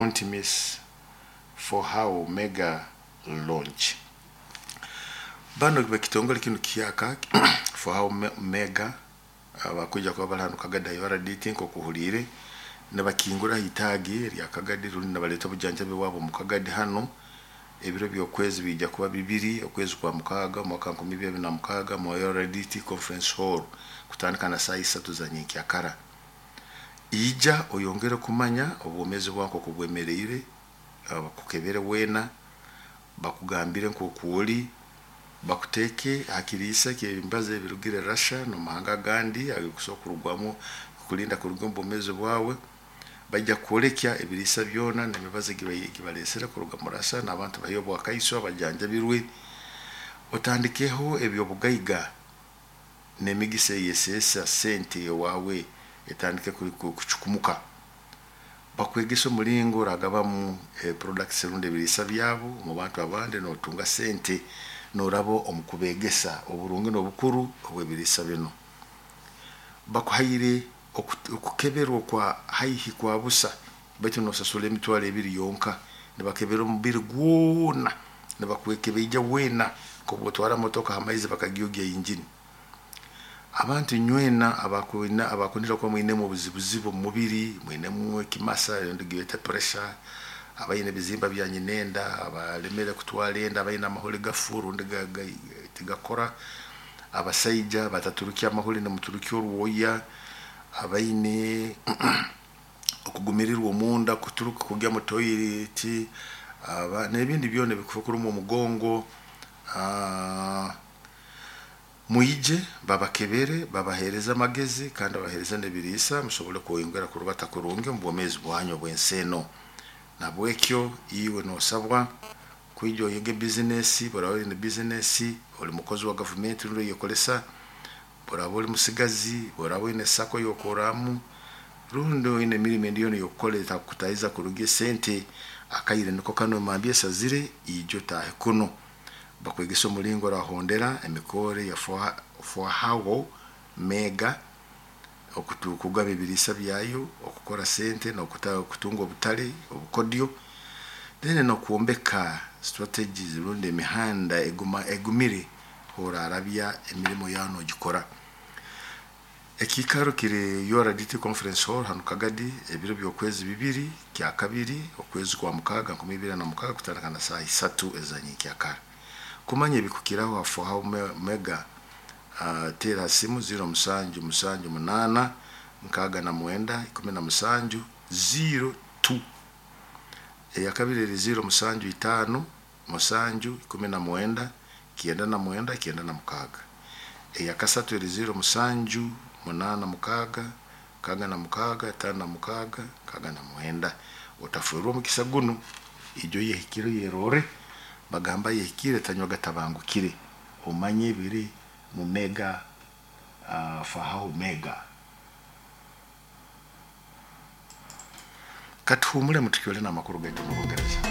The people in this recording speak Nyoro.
Don't miss For How Mega Launch. Bano bekitongole kinu kiyaka For How Mega abakwija kuba bali hanu Kagadi URDT, nk'okuhuliire nibakingura itaagi erya Kagadi rundi nibaleeta obujanjabi bwabo omu Kagadi hanu. Ebiro by'okwezi biija kuba 2 okwezi kwa 6 omwaka 2026 mu URDT Conference Hall, kutandika na saaha 3 za nyenkyakara. Ija oyongere kumanya obwomeezi bwawe nk'oku bwemereire, bakukebere weena, bakugambire nk'oku oli, bakuteeke ha kiriisa ky'embazo ebirugire Russia n'omu mahanga agandi ag'okusobora kurugwamu kukulinda kuruga omu bwomeezi bwawe. Baija kukwolekya ebiriisa byona n'emibazi ei baleesere kuruga mu Russia, n'abantu baheyo obwakaiso abajanjabirwe. Otandikeho eby'obugaiga n'emigisa eyeseesa sente owaawe etandike kucukumuka. Bakwegesa omulingo oragabamu products rundi ebiriisa byabo omu bantu abandi n'otunga sente n'oraba omu kubeegesa oburungi n'obukuru obw'ebiriisa binu. Bakuhaire okukeberwa okwa haihi kwa busa, baitu n'osasura 20,000 yonka. Nibakebera omubiri gwona, nibakwekebeija weena nk'obu otwara motoka ha maizi bakagyogya injini. Abantu inywena abakunira kuba mwinemu obuzibuzibu omu mubiri, mwinemu ekimasa rundi giyete pressure, abaine ebizimba bya nyinenda, abalemere kutwara enda, abaine amahuri gafu rundi tigakora, abasaija bataturukya amahuri nimuturukya orwoya, abaine okugumirirwa omunda kuturuka kugya mu toilet, n'ebindi byona ebikukuruma omugongo, mwije babakebere, babaheereze amagezi kandi babaheereze n'ebiriisa musobole kweyongera kurubata kurungi omu bwomeezi bwanyu obw'ensi enu. Nahabwekyo iwe noosabwa kwija oyege bizinesi, obu oraaba oine bizinesi, oli mukozi wa gavumenti rundi oyekolesa, obu oraaba oli musigazi, obu oraaba oine SACCO ey'okorramu, rundi oine emirimo endi yoona ey'okukora etakukutahiza kurungi esente, akaire nuko kanu emambya esazire, ija otaahe kunu. Bakwegese omulingo orahondera emikorre ya Fohawo Mega, okugaba ebiriisa byayo, okukora sente n'okutunga obutale obukodyo, then n'okwombeka strategies rundi emihanda egumire orarabya emirimo yawe n'ogikora. Ekiikaro kiri URDT Conference Hall hanu Kagadi, ebiro by'okwezi 2 kyakabiri okwezi kwa 6 2026 kutandika na saaha 3 eza nyenkyakara. Kumanya ebikukiraho ha Fohawo Mega, teera ha simu 0778 69 17 02. Eyakabiri eri 075 7 19 99 96. Eyakasatu eri 07 86 66 56 69. Otaferwa omukisa gunu, ija oyehikire oyerorre, bagamba ayehikire tanywa gatabangukire, omanye ebiri mu Mega Fahawo Mega. Katuhumulemu tukyole n'amakuru gaitu omu Rungereza.